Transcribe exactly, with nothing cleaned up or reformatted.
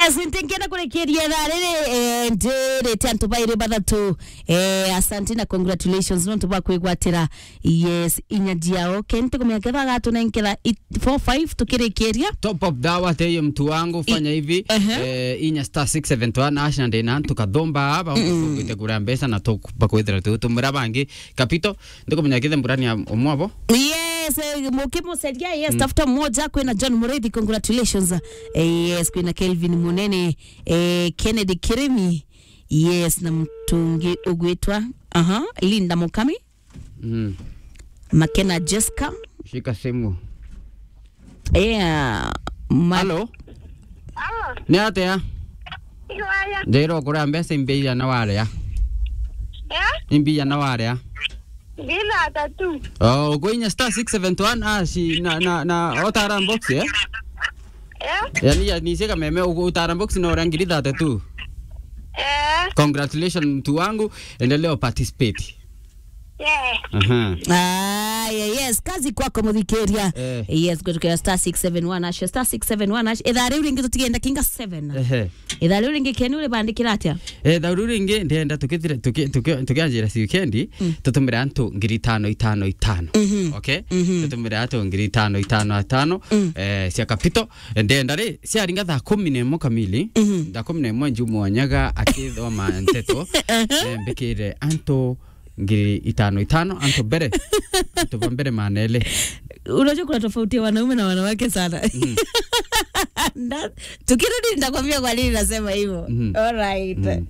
Yes, ntinkenda kurikiria thaa riri, eh, ndirite antu bairi bathatu. Eh, asante na congratulations nontu bwa kwigwatira. Yes, inya jiao. Ken, tikumenya ketha gatunenkera i-, four five tukirikiria. Top up dawa teyo mtu wangu, fanya hivi. Ehe. Eh, inya star six seven one hash na ndina antu kathomba aba, ukwite kuria mbeca na tu-, bakwithira tu-, tumira bangi. Kapito, ndikumenya kithe mburani ya umwe abo. Yes, eh, mukimuceria, yes, tafuta mmoja, kwina John Muriithi, congratulations. Eh, yes, kwina Kelvin Munene, eh, Kennedy Kirimi, yes, na mtu ungi ugwitwa, aha, Linda Mukami, Mm. Makena Jessica. Shika simu. Yeah, ma- Hello? Ah, ni atia? Iwaya. Ndira ukuria mbeca imbi igana waria? Eh? Imbi igana waria? Ngiri thirty-two. Oh, uko inya star six seven one hash na, na, na utara box, eh? Eh? Yani, yani, cia kameme, ugu-, utara box na uria ngiri thirty-two. Eh? Congratulations, mtu wangu, endelea participate. Yeah. Aha. Aya, yes, kazi kwako muthikiria. Eh. Yes, gwitukira star six seven one hash, star six seven one hash. Ithaa riu ringi tutigenda kinga seven. Ehe. Ithaa riu ringi Ken uribandikira atia? Eh, ithaa riu ringi ndenda tukithire, tuki-, tuki-, tukianjira si weekend, tutumire antu ngiri itano itano itano. Mhm. Okay? Mhm. Tutumire antu ngiri itano itano itano, eh, cia kapito. Ndenda ri, ciaringa thaa kumi na imwe kamili, thaa kumi na imwe njumwanyaga akithoma nteto, eh, mbikire antu ngiri itano itano, antu mbere, antu ba mbere manele. Unajua kuna tofauti ya wanaume na wanawake sana. Mm. Na, tukirudi nitakwambia kwa nini nasema hivyo. Mm. All right. Mm.